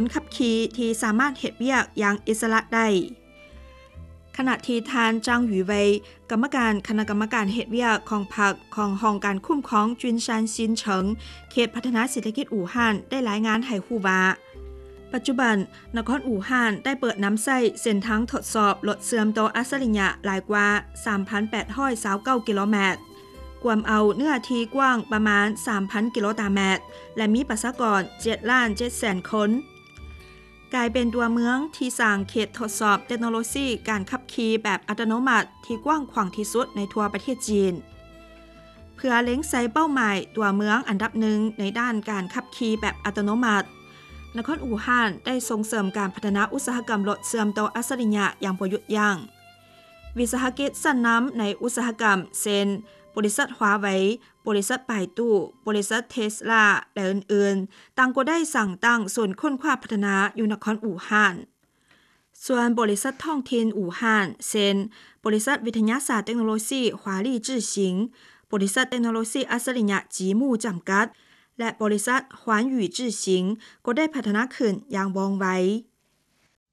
ນຂັບຂີ່ທີ່ສາມາດເຮັດວຽກຢ່າງອິດສະຫຼະໄດ້. ຂະນະທີ່ທ່ານ ຈາງ ຫວີເຫວີຍ ກຳມະການຄະນະກຳມະການເຮັດວຽກຂອງພັກຂອງຫ້ອງການຄຸ້ມຄອງຈຸນຊານຊິນເສີງ ເຂດພັດທະນາເສດຖະກິດອູ່ຮານ ໄດ້ລາຍງານໃຫ້ຮູ້ວ່າ ປັດຈຸບັນນະຄອນອູ່ຮານໄດ້ເປີດນຳໃຊ້ເສັ້ນທາງທົດສອບລົດເຊື່ອມຕໍ່ອັດສະລິຍະຫຼາຍກວ່າສາມພັນແປດຮ້ອຍຊາວເກົ້າກິໂລແມັດ, ກວມເອົາເນື້ອທີ່ກວ້າງປະມານສາມພັນກິໂລຕາແມັດ ແລະ ມີປະຊາກອນເຈັດລ້ານເຈັດແສນຄົນ, ກາຍເປັນຕົວເມືອງທີ່ສ້າງເຂດທົດສອບເຕັກໂນໂລຊີການຂັບຂີ່ແບບອັດຕະໂນມັດທີ່ກວ້າງຂວາງທີ່ສຸດໃນທົ່ວປະເທດຈີນ. ເພື່ອເລັງໃສ່ເປົ້າໝາຍຕົວເມືອງອັນດັບໜຶ່ງໃນດ້ານການຂັບຂີ່ແບບອັດຕະໂນມັດ, ນະຄອນອູ່ຮານໄດ້ສົ່ງເສີມການພັດທະນາອຸດສາຫະກຳລົດເຊື່ອມຕໍ່ອັດສະລິຍະຢ່າງບໍ່ຢຸດຢັ້ງ. ວິສາຫະກິດຊັ້ນນຳໃນອຸດສາຫະກຳ ເຊັ່ນ ບໍລິສັດ Huawei, ບໍລິສັດ Baidu, ບໍລິສັດ Tesla ແລະ ອື່ນໆ ຕ່າງກໍໄດ້ສ້າງຕັ້ງສູນຄົ້ນຄວ້າພັດທະນາຢູ່ນະຄອນອູ່ຮານ. ສ່ວນບໍລິສັດທ້ອງຖິ່ນອູ່ຮານ ເຊັ່ນ ບໍລິສັດວິທະຍາສາດເຕັກໂນໂລຊີ Huali Zhixiang, ບໍລິສັດເຕັກໂນໂລຊີອັດສະລິຍະ Jimu ຈຳກັດ ແລະ ບໍລິສັດ Huanyu Zhixiang ກໍໄດ້ພັດທະນາຂຶ້ນຢ່າງວ່ອງໄວ.